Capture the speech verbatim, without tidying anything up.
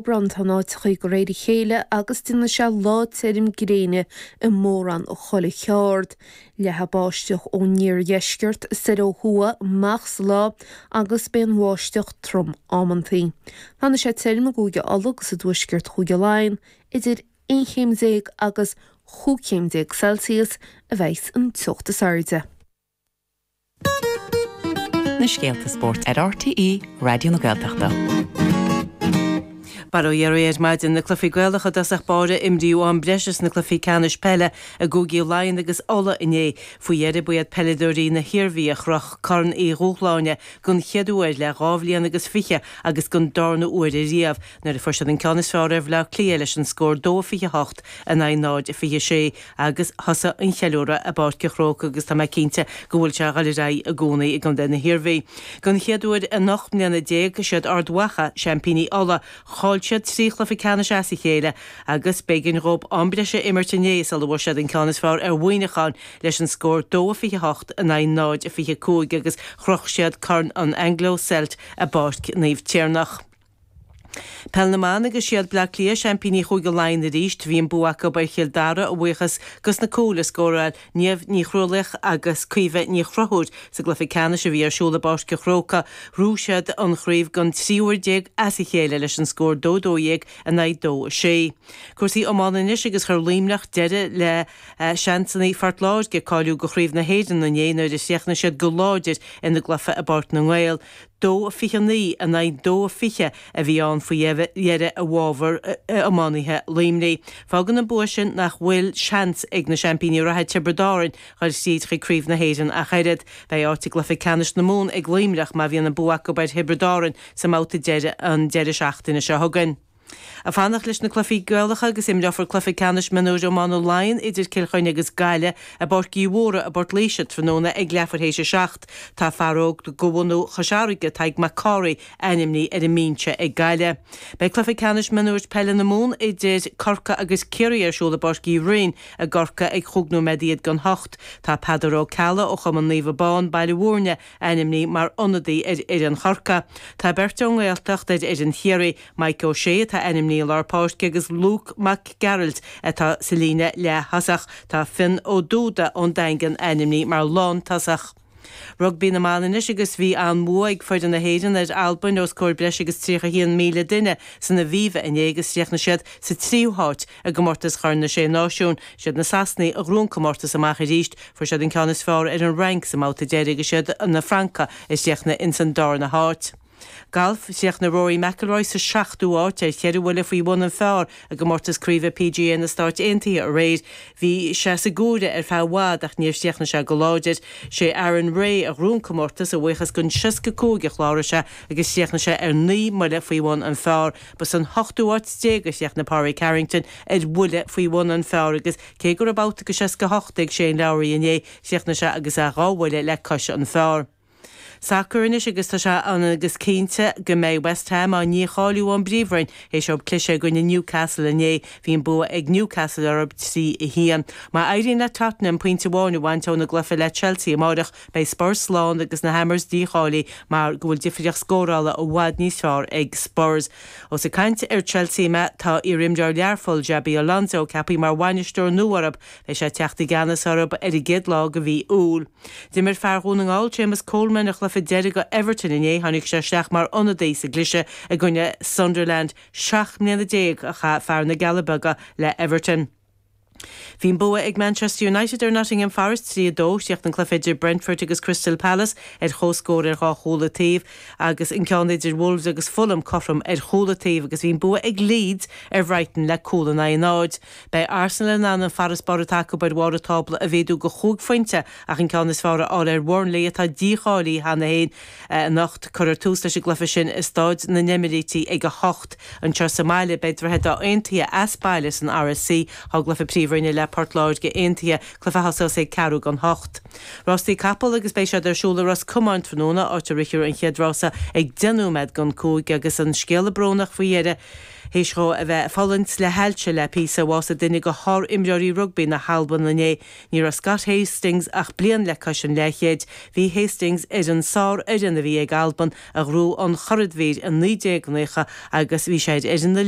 Bronnta in áiteachaí de réir a chéile agus déanfaidh sé lá tirim gréine i mórán chuile cheard. Leathfaidh báisteach ón iardheisceart soir ó thuaidh amach sa lá agus beidh an bháisteach trom amantaí. Fanfaidh sé tirim i gCúige Uladh agus i dtuaisceart Chúige Laighean idir aon chéim déag agus chúig chéim déag Celsius a bheidh an teocht is airde. Na scéalta spóirt ar RTÉ Raidió na Gaeltachta. Bail ó Dhia oraibh ar maidin na cluichí Gaelacha i dtosach báire imríodh am breise sna cluichí ceannais peile i gCúigí Laighean agus Uladh inné. Faoi dheireadh ba iad peileadóirí na hIarmhí a chroch Corn Uí Dhúshláine den chéad uair le dhá bhliain agus fiche agus den darna huair ariamh nuair a fuair siad an ceann is fearr ar Bhaile Átha Cliath leis an scór dó fiche hocht in aghaidh náid fiche sé agus thosaigh an cheiliúradh i bPáirc an Chrócaigh agus tá mé cinnte go bhfuil sé ag dul ar aghaidh i gcónaí i gContae na hIarmhí. Den chéad uair in ocht mbliana déag siad Ard Mhacha, seaimpíní Uladh, chaill siad trí chluiche ceannais as a chéile agus b'éigean dóibh am breise a imirt inné sula bhfuair siad an ceann is fearr ar Mhuineachán leis an scór dó fiche hocht in aghaidh náid fiche cúig agus chroch siad Corn an Anglo-Celt i bPáirc Naomh Tiarnach. Peil na mban agus siad Bleá Cliath seaimpíní Chúige Laighean arís, bhí an bua acu ar Chill Dara a bhuíochas dos na cúil a scóráil Niamh Ní Chrualaoich agus Caoimhe Ní Chonchúir sa gcluiche ceannais a bhí ar siúl i bPáirc an Chrócaigh. Ghnóthaigh siad an chraobh den tríú huair déag as a chéile leis an scór dó dó dhéag in aghaidh dó a sé. Cúrsaí iomána anois agus chuir Luimneach deireadh le seansanna Phort Láirge cáiliú go Chraobh na hÉireann inné nuair a chríochnaigh siad go láidir ina gcluiche i bPáirc na nGael. Dó fiche naoi in aghaidh dó fiche a bhí ann faoi dheireadh i bhfabhar iománaithe Luimnigh. Fágann an bua sin nach bhfuil seans ag na seaimpíní reatha Tiobraid Árann dhul tríd chuig Craobh na hÉireann ach oiread. Beidh áit i gcluiche ceannais na Mumhan ag Luimneach má bhíonn an bua acu ar Thiobraid Árann sa mbabhta deiridh an deireadh seachtaine seo chugainn. Ag fanacht leis na cluichí Gaelacha agus imreofar cluiche ceannais mionúir iomána Laighean idir Cill Chainnigh agus Gaillimh i bPáirc Uí Mhórdha i bPort Laoise tráthnóna ag leathuair théis a seacht. Tá fear óg de bhunadh Chois Fharraige, Tadhg Mac Cárthaigh, ainmnithe ar an mbinse ag Gaillimh. Beidh cluiche ceannais mionúir peile na Mumhan idir Corcaigh agus Ciarraí ar siúl i bPáirc Uí Rinn i gCorcaigh ag chúig nóiméad iad don hocht. Tá Peadar Ó Ceallaigh ó Chumann Naomh Abán, Baile Mhúirne, ainmnithe mar ionadaí ar fhoireann Chorcaí. Tá beirt ón nGaeltacht ar fhoireann Chiarraí, Mike O'Shea atá ainmnithe i lár páirce agus Luke Mac Gearailt atá sa líne leath-thosach. Tá Fionn Ó Dúda ón Daingean ainmnithe mar lántosach. Rugbaí na mban anois agus bhí an-bhua ag foireann na hÉireann ar Albain os comhair breis agus tríocha a haon míle duine san Aviva inné agus chríochnaigh siad sa tríú háit i gcomórtas Chorn na Sé Náisiún. Siad na Sasanaigh a ghnóthaigh an comórtas amach arís. Fuair siad an ceann is fearr ar an Fhrainc sa mbabhta deiridh agus siad na Francaigh a chríochnaigh ins an darna háit. Galf, Chríochnaigh Rory McIlroy sa seachtú háit ar cheithre bhuille faoi bhun an phar i gcomórtas craoibhe PGA na Stáit Aontaithe aréir. Bhí sé sa gcomhaireamh ar feadh i bhfad ach níor chríochnaigh sé go láidir. Sé Aaron Rai a ghnóthaigh an comórtas a bhuíochas don seasca cúig a chláraigh sé agus chríochnaigh sé ar naoi mbuille faoi bhun an phar. Ba san hochtú háit déag a chríochnaigh Pádraig Harrington ar bhuille faoi bhun an phar agus cé go raibh babhta de seasca hocht ag Shane Lowry inné, chríochnaigh sé agus é dhá bhuille le cois an phar. Sacar anois agus tá sé ionann agus cinnte go mbeidh West Ham á ndícháiliú ón bPríomhroinn théis dóibh cliseadh i gcoinne Newcastle inné. Bhí an bua ag Newcastle orthu trí a haon. Má éiríonn le Tottenham pointe amháin a bhaint óna gcluiche le Chelsea amárach, beidh Spurs slán agus na Hammers dícháilithe mar go bhfuil difríocht scórála i bhfad níos fearr ag Spurs. Ós ag caint ar Chelsea mé, tá iarimreoir Learpholl, Xabi Alonso, ceaptha mar bhainisteoir nua orthu. Beidh sé ag teacht i gceannas orthu ar an gcéad lá de mhí Iúil. D'imir fear Dhún na nGall, Séamus Coleman, a chluiche deiridh do Everton inné. Tháinig sé isteach mar ionadaí sa gcliseadh i gcoinne Sunderland. Seacht mbliana déag a chaith fear na gCealla Beaga le Everton. Bhí an bua ag Manchester United ar Nottingham Forest trí a dó. Chríochnaigh an cluiche idir Brentford agus Crystal Palace ar chomhscór ar dhá chúl an taobh agus an ceann idir Wolves agus Fulham cothrom ar chúl an taobh agus bhí an bua ag Leeds ar Bhrighton le cúl in aghaidh a náid. Beidh Arsenal in ann an farasbarr atá acu ar bharr an tábla a mhéadú go chúig phointe ach an ceann is fearr a fháil ar Bhurnley atá dícháilithe cheana féin anocht. Cuirfear tús leis an gcluiche sin i Staid na nEimíríti ag a hocht. Anseo sa mbaile beidh Droichead Átha Aontaithe as baile san RSC. Tá an cluiche Príomhroinne Bhroinne le Port Láirge Aontaithe, cluiche a thosós ag ceathrú don hocht. Rástaí capall agus beidh siad ar siúl i Ros Comáin tráthnóna, áit a rithfear an chéad rása ag deich nóiméad don cúig agus an scéala brónach faoi dheireadh théis dhó a bheith ag fulaingt le hailse le píosa, bhásaigh duine de shár-imreoirí rugbaí na hAlban inné. Ní raibh Scott Hastings ach bliain le cois an leathchéid. Bhí Hastings ar an sárfhoireann a bhí ag Albain a ghnóthaigh an churadhmhír i naoi déag naocha agus bhí sé ar fhoireann na